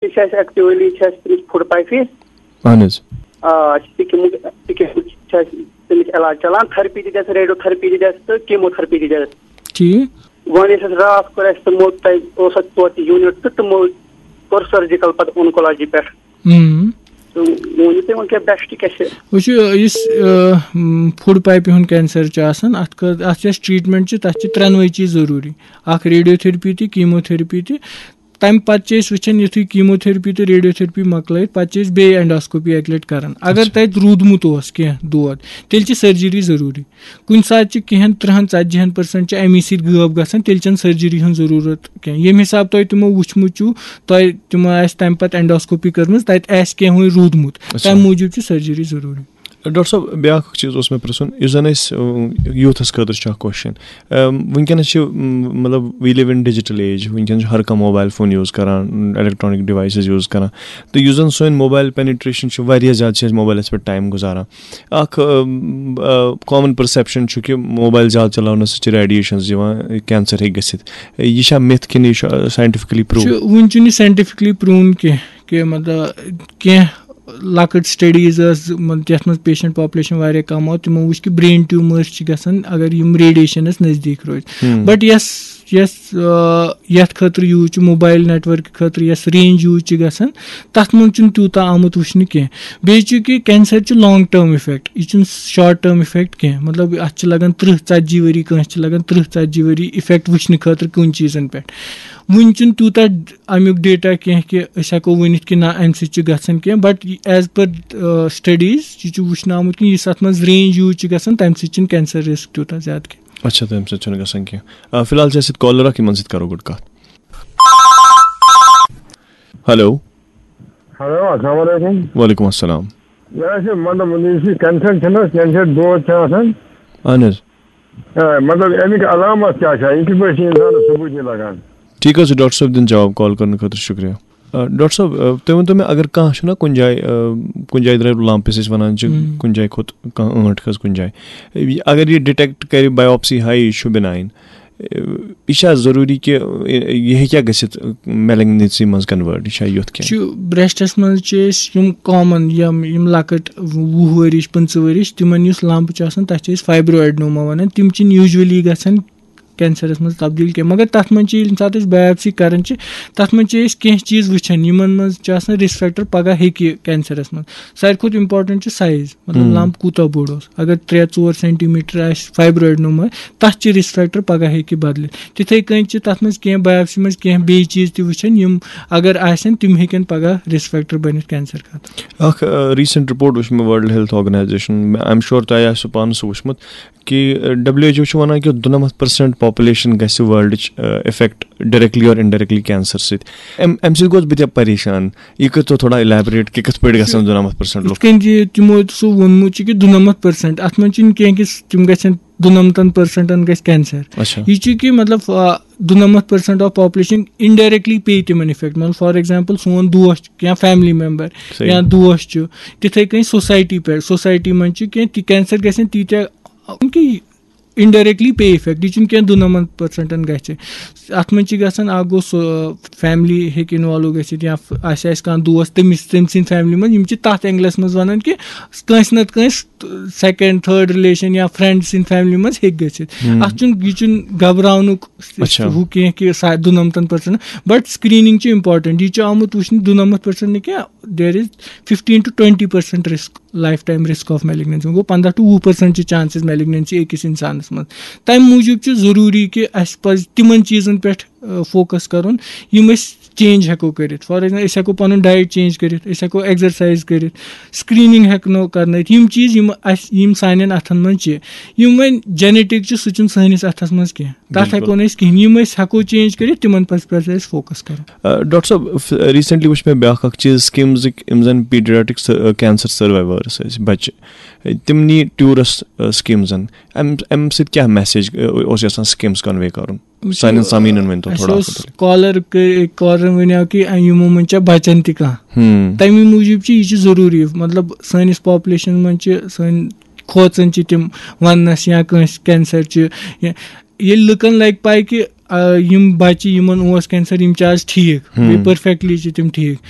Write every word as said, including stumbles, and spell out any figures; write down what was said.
چھِ اَسہِ ایکچُؤلی چھِ اَسہِ تٔمِس فُڈ پایپہِ۔ اہن حظ۔ آ، اَسہِ چھِ سِکِمُک، سِکِمُک چھِ اَسہِ تٔمِس علاج چلان، تھرپی تہِ دِژ، ریڈیو تھرپی تہِ دِژ تہٕ کیمو تھرپی تہِ دِژ۔ ٹھیٖک۔ وۄنۍ یُس اَسہِ راتھ کوٚر اَسہِ تِمو، تۄہہِ اوس اَتہِ توتہِ یوٗنِٹ تہٕ تِمو کوٚر سٔرجِکَل پَتہٕ اونکولوجی پٮ۪ٹھ۔ ہم۔ تہٕ وۄنۍ ؤنِو تُہۍ وۄنۍ کیٛاہ بیسٹ کیٛاہ چھِ؟ وٕچھِو، یُس، آ، م، فُڈ پایپہِ ہُنٛد کینسر چھُ آسان، اَتھ خٲ-، اَتھ یۄس ٹریٹمنٹ چھِ، تَتھ چھِ ترٛٮ۪نوَے چیٖز ضروٗری۔ اَکھ ریڈیو تھرپی تہِ، کیمو تھرپی تہِ۔ تَمہِ پَتہٕ چھِ أسۍ وٕچھان، یُتھُے کیمو تھرپی تہٕ ریڈیو تھرپی مۄکلٲیِتھ، پَتہٕ چھِ أسۍ بیٚیہِ اینڈوسکوپی اَکہِ لَٹہِ کَران۔ اگر اچھا۔ تَتہِ روٗدمُت اوس کینٛہہ دود، تیٚلہِ چھِ سٔرجری ضروٗری۔ کُنہِ ساتہٕ چھِ کینٛہَن تٕرٛہَن ژَتجِہَن پٔرسَنٛٹ چھِ اَمی سۭتۍ غٲب گژھان، تیٚلہِ چھَنہٕ سٔرجری ہٕنٛز ضروٗرت کینٛہہ۔ ییٚمہِ حساب تۄہہِ تِمو وٕچھمُت چھُو، تۄہہِ تِمو آسہِ تَمہِ پَتہٕ اینڈوسکوپی کٔرمٕژ، تَتہِ آسہِ کینٛہہ وٕنہِ روٗدمُت، اچھا۔ تَمہِ موٗجوٗب چھِ سٔرجری ضروٗری۔ ڈاکٹر صٲب، بیٛاکھ اکھ چیٖز اوس مےٚ پرٛژھُن، یُس زَن أسۍ، اۭں، یوٗتھَس خٲطرٕ چھُ اکھ کوسچن۔ اۭں، وٕنکیٚنَس چھِ، اۭں، مطلب، we live in digital age، وٕنکیٚنَس چھُ ہر کانٛہہ موبایل فون یوٗز کران، الیکٹرانک ڈیوایسز یوٗز کران، تہٕ یُس زَن سٲنۍ موبایل پینیٹریشن چھِ، واریاہ زیادٕ چھِ أسۍ موبایلَس پٮ۪ٹھ ٹایم گُزاران۔ اکھ، اۭں، اۭں، کامن پرسیپشن چھُ کہِ موبایل زیادٕ چلاونہٕ سۭتۍ چھِ ریڈیشنز یِوان، کینسر ہیٚکہِ گٔژھِتھ۔ یہِ چھا مِتھ کِنہٕ یہِ چھُ ساینٹیفکلی پروٗو؟ چھُ، وُنہِ چھُنہٕ یہِ ساینٹیفکلی پروٗن کینٛہہ کہِ، مطلب، کینٛہہ لۄکٕٹ سٹڈیٖز ٲس، مطلب، یَتھ منٛز پیشنٹ پاپولیشن واریاہ کم آو، تِمو وٕچھ کہِ برین ٹیوٗمٲرس چھِ گژھان اگر یِم ریڈیشنس نزدیٖک روزِ۔ ہم۔ بٹ یۄس، یۄس، آ، یَتھ خٲطرٕ یوٗز چھُ، موبایل نیٹورک خٲطرٕ یۄس رینج یوٗز چھِ گژھان، تَتھ منٛز چھُنہٕ تیوٗتاہ آمُت وٕچھنہٕ کینٛہہ۔ بیٚیہِ چھُ کہِ کینسر چھُ لانگ ٹرم افیکٹ، یہِ چھُنہٕ شارٹ ٹرم افیکٹ کینٛہہ۔ مطلب، اَتھ چھِ لگان تٕرٛہ ژتجی ؤری، کٲنٛسہِ چھِ لگان تٕرٛہ ژتجی ؤری افیکٹ وٕچھنہٕ خٲطرٕ کُنہِ چیٖزن پٮ۪ٹھ۔ وٕنہِ چھُنہٕ تیوٗتاہ اَمیُک ڈیٹا کینٛہہ کہِ أسۍ ہٮ۪کو ؤنِتھ کہِ نہ، اَمہِ سۭتۍ چھُ گژھان کینٛہہ، بٹ as per studies یہِ چھُ وٕچھنہٕ آمُت کہِ یُس اَتھ منٛز رینج یوٗز چھِ گژھان، تَمہِ سۭتۍ چھُنہٕ کینسر رسک تیوٗتاہ زیادٕ کینٛہہ۔ اچھا، تَمہِ سۭتۍ چھُنہٕ گژھان کینٛہہ۔ آ، فی الحال چھِ اَسہِ سۭتۍ کالر اکھ، یِمن سۭتۍ کرو گۄڈٕ کتھ۔ ہیلو۔ ہیلو، السلام علیکم۔ وعلیکم السلام۔ یہِ حظ چھِ، مطلب، یُس یہِ کینسر چھُنہٕ حظ، کینسر دود چھُ آسان۔ اہن حظ۔ آ، مطلب، اَمِکۍ علامت کیٛاہ چھِ؟ یہِ کِتھ پٲٹھۍ چھِ اِنسانَس ثبوٗت یہِ لگان؟ ٹھیٖک حظ چھُ، ڈاکٹر صٲب دِن جواب کال کرنہٕ خٲطرٕ، شُکریہ۔ آ، ڈاکٹر صٲب، آ، تُہۍ ؤنۍ تو مےٚ، اگر کانٛہہ چھُنہ کُنہِ جایہِ، آ، کُنہِ جایہِ درٛاے لمپ، یُس أسۍ وَنان چھِ، ہُم۔ کُنہِ جایہِ کھوٚت کانٛہہ ٲنٹ کھٔژ کُنہِ جایہِ، یہِ، اگر یہِ ڈِٹیکٹ کرِ، بایوپسی ہایہِ، یہِ چھُ بِناین، یہِ چھا ضروٗری کہِ یہِ ہیٚکیٛاہ گٔژھِتھ میلگنسی منٛز کنوٲرٹ؟ یہِ چھا یُتھ کینٛہہ؟ چھُ، برٛیسٹَس منٛز چھِ أسۍ یِم کامن، یِم، یِم لۄکٕٹۍ وُہ ؤرِش، پٕنٛژٕہ ؤرِش، تِمن یُس لمپ چھُ آسان، تَتھ چھِ أسۍ فایبرو ایڈنوما وَنان۔ تِم چھِنہٕ یوٗجؤلی گژھان کینسرس منٛز تبدیٖل کینٛہہ، مگر تَتھ منٛز چھِ، ییٚمہِ ساتہٕ أسۍ بایوپسی کران چھِ، تَتھ منٛز چھِ أسۍ کینٛہہ چیٖز وٕچھان، یِمن منٛز چھِ آسان رِسک فیکٹر پگاہ ہیٚکہِ کینسرس منٛز۔ ساروی کھۄتہٕ امپورٹنٹ چھُ سایز، مطلب، ہم۔ لمپ کوٗتاہ بوٚڑ اوس۔ اگر ترٛےٚ ژور سینٹی میٹر آسہِ فایبرو ایڈنوما، تَتھ چھِ رِسک فیکٹر پگاہ ہیٚکہِ بدلِتھ۔ تِتھے کٔنۍ چھِ تَتھ منٛز کینٛہہ بایوپسی منٛز کینٛہہ بیٚیہِ چیٖز تہِ وٕچھان، یِم اگر آسن، تِم ہیٚکن پگاہ رِسک فیکٹر بٔنِتھ کینسر خٲطرٕ۔ اکھ، آ، ریسنٹ رپورٹ وٕچھ مےٚ world health organization, I'm sure تۄہہِ آسِوٕ پانہٕ سُہ وٕچھمُت، کہِ، آ، W H O چھُ وَنان کہِ دُنَمَتھ percent population گژھِ ورلڈٕچ، آ، affect directly or indirectly cancer سۭتۍ۔ اَمہِ، اَمہِ سۭتۍ گوس بہٕ تہِ پریشان۔ یہِ کٔرۍتو تھوڑا elaborate کہِ کِتھ پٲٹھۍ گژھن دُنَمَتھ percent لُکھ؟ یِتھ کٔنۍ زِ تِمو سُہ ووٚنمُت چھُ کہِ دُنَمَتھ percent، اَتھ منٛز چھُنہٕ کینٛہہ کہِ تِم گژھن، دُنَمتَن پٔرسَنٹَن گژھِ کینسر۔ اچھا۔ یہِ چھُ کہِ، مطلب، آ، دُنَمَتھ percent of population indirectly پیٚیہِ تِمَن افیکٹ۔ مطلب، فار ایگزامپل، سون دوس چھُ یا فیملی ممبر صحیح۔ یا دوس چھُ، تِتھَے کٔنۍ سوسایٹی پٮ۪ٹھ، سوسایٹی منٛز چھُ کینٛہہ تہِ کینسر گژھن تیٖتیٛاہ، کہِ indirectly پیٚیہِ افیکٹ۔ یہِ چھُنہٕ کینٛہہ دُنَمَتھ پٔرسَنٹَن گژھِ۔ اَتھ منٛز چھِ گژھان، اَکھ گوٚو سُہ، فیملی ہیٚکہِ انوالو گٔژھِتھ یا آسہِ اَسہِ کانٛہہ دوس، تٔمِس، تٔمۍ سٕنٛدِ فیملی منٛز، یِم چھِ تَتھ اینگلَس منٛز وَنان کہِ کٲنٛسہِ نَتہٕ کٲنٛسہِ second, third relation یا فرینڈ سٕنٛدِ فیملی منٛز ہیٚکہِ گٔژھِتھ۔ ہم۔ اَتھ چھُنہٕ، یہِ چھُنہٕ گھبراونُک اچھا۔ ہُہ کینٛہہ کہِ سا-، دُنَمتَن پٔرسَنٹ، but screening چھِ امپورٹنٹ۔ یہِ چھُ آمُت وٕچھنہٕ، دُنَمَتھ پٔرسَنٹ نہٕ کینٛہہ، there is fifteen to twenty percent risk، life time risk of malignancy۔ گوٚو، پنٛداہ to وُہ percent چھِ چانسز میلگننسی أکِس اِنسانَس منٛز۔ تَمہِ موٗجوٗب چھُ ضروٗری کہِ اَسہِ پَزِ تِمَن چیٖزَن پٮ۪ٹھ، آ، فوکَس کَرُن، یِم أسۍ چینج ہٮ۪کو کٔرِتھ۔ فار ایگزامپل، أسۍ ہٮ۪کو پَنُن ڈایٹ چینج کٔرِتھ، أسۍ ہٮ۪کو ایکزرسایز کٔرِتھ، screening ہٮ۪کو کرنٲیِتھ۔ یِم چیٖز یِم اَسہِ، یِم سانٮ۪ن اَتھَن منٛز چھِ، یِم وۄنۍ جینیٹک چھِ، سُہ چھُنہٕ سٲنِس اَتھَس منٛز کینٛہہ۔ تَتھ بِلکُل۔ ہٮ۪کو نہٕ أسۍ کِہیٖنۍ۔ یِم أسۍ ہٮ۪کو چینج کٔرِتھ، تِمَن پَزِ، پَزِ اَسہِ فوکَس کَرُن۔ آ، ڈاکٹر صٲب، ف-، ریسنٹلی وٕچھ مےٚ بیٛاکھ اَکھ چیٖز، سکیٖمزٕکۍ یِم زَن پیٖڈیاٹِک س-، کینسر سٔروایوٲرٕس ٲسۍ، بَچہِ، تِم نی ٹیوٗرَس، آ، سکیٖمزَن۔ اَمہِ، اَمہِ سۭتۍ کیٛاہ میسیج، آ، اوس یَژھان سکیٖمز کنوے کَرُن؟ وٕچھِو، سانٮ۪ن سامیٖنَن ؤنۍ تو اَسہِ تھوڑا اوس اَتھ مُتعلِق۔ کالر کٔ-، کالرَن وَنیو کہِ یِمو منٛز چھا بَچَن تہِ کانٛہہ۔ ہُم۔ تَمی موٗجوٗب چھِ یہِ چھِ ضروٗری، مطلب، سٲنِس پاپولیشن منٛز چھِ سٲنۍ کھوژان چھِ تِم وَننَس یا کٲنٛسہِ کینسر چھِ۔ یا ییٚلہِ لُکَن لَگہِ پَے کہِ، آ، یِم بَچہِ، یِمَن اوس کینسر، یِم چھِ آز ٹھیٖک، ہُم۔ بیٚیہِ پٔرفیکٹلی چھِ تِم ٹھیٖک۔